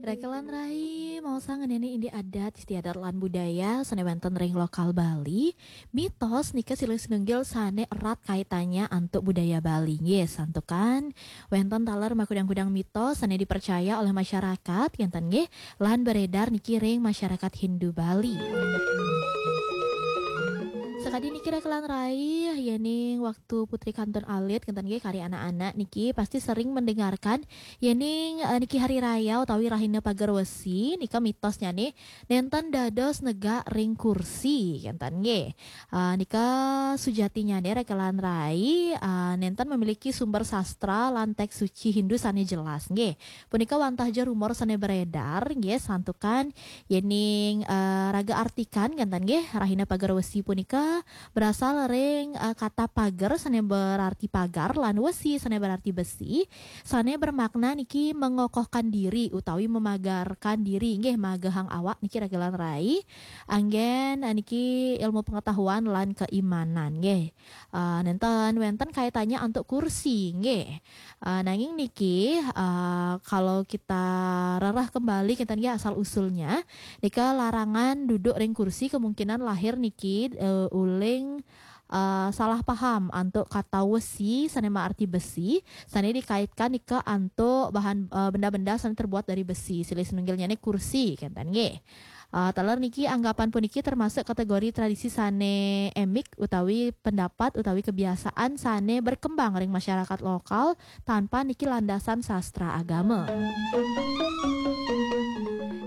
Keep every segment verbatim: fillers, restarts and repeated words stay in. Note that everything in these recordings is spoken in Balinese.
Rekelan rai, mau sang ngeneni indik adat, istiadat lan budaya sane wenten ring lokal Bali. Mitos nika silih sinunggil sane erat kaitannya antuk budaya Bali. Nggih, santukan wenten taler makudang-kudang mitos sane dipercaya oleh masyarakat, ngenten nggih, lan beredar niki ring masyarakat Hindu Bali. Sakadi niki rekelan rai, yening waktu putri kantun alit, ngenten nggih, kari anak-anak niki pasti sering mendengarkan yening, eh, niki hari raya utawi rahina pager wesi, nika mitosnyane nenten dados negak ring kursi, ngenten nggih. Eh, nika sujatinyane rekelan rai, eh, nenten memiliki sumber sastra lan teks suci Hindu sane jelas, nggih. Punika wantah ja rumor sane beredar, nggih, santukan yening, eh, raga artikan, ngenten nggih, rahina pager wesi punika berasal ring, eh, kata pager sane berarti pagar lan wesi sane berarti besi, sane bermakna niki mengokohkan diri utawi memagarkan diri, nggih, magehang awak niki rekelan rai. Anggen, eh, niki ilmu pengetahuan lan keimanan, nggih. Eh, nenten wenten kaitannya antuk kursi, nggih. Eh, nanging niki, eh, kalau kita rereh kembali, kita niki asal usulnya, nika larangan duduk ring kursi kemungkinan lahir niki, eh, uling, eh, salah paham antuk kata wesi sane maarti besi, sane dikaitkan nika antuk bahan, eh, benda-benda sane terbuat dari besi. Silih sinunggilnyane kursi, kenten nggih. Uh, taler niki anggapan puniki termasuk kategori tradisi sane emik utawi pendapat utawi kebiasaan sane berkembang ring masyarakat lokal tanpa niki landasan sastra agama.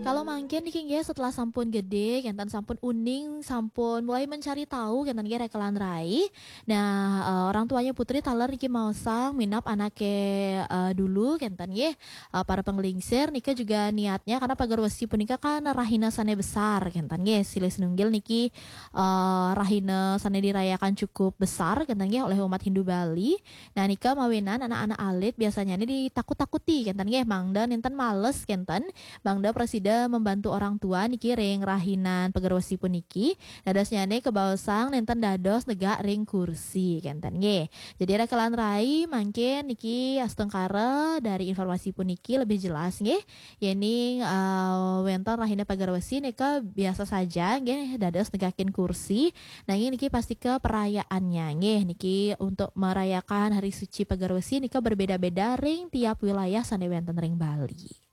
Kalau mangkin niki nggih, setelah sampun gede, kenten sampun uning, sampun mulai mencari tahu, kenten nggih rekelan rai. Nah, uh, orang tuanya putri taler niki maosang minab anake, uh, dulu, kenten nggih. Uh, para penglingsir nika juga niatnya karena pager wesi punika kan rahina sane besar, kenten nggih. Silih sinunggil niki, uh, rahina sane dirayakan cukup besar, kenten nggih, oleh umat Hindu Bali. Nah, nika mawinan anak-anak alit biasanya ni ditakut-takuti, kenten nggih, mangda nenten males, kenten, mangda prasida membantu orang tua niki ring rahinan pager wesi puniki. Dadosnyane kebaosang nenten dados negak ring kursi, kenten nggih. Jadi rekelan rai, mangkin niki astungkara dari informasi puniki lebih jelas nggih. Yening, uh, wenten rahina pager wesi nika biasa saja nggih dados negakin kursi. Nanging niki pastika perayaannya nggih, niki untuk merayakan hari suci pager wesi nika berbeda-beda ring tiap wilayah sane wenten ring Bali.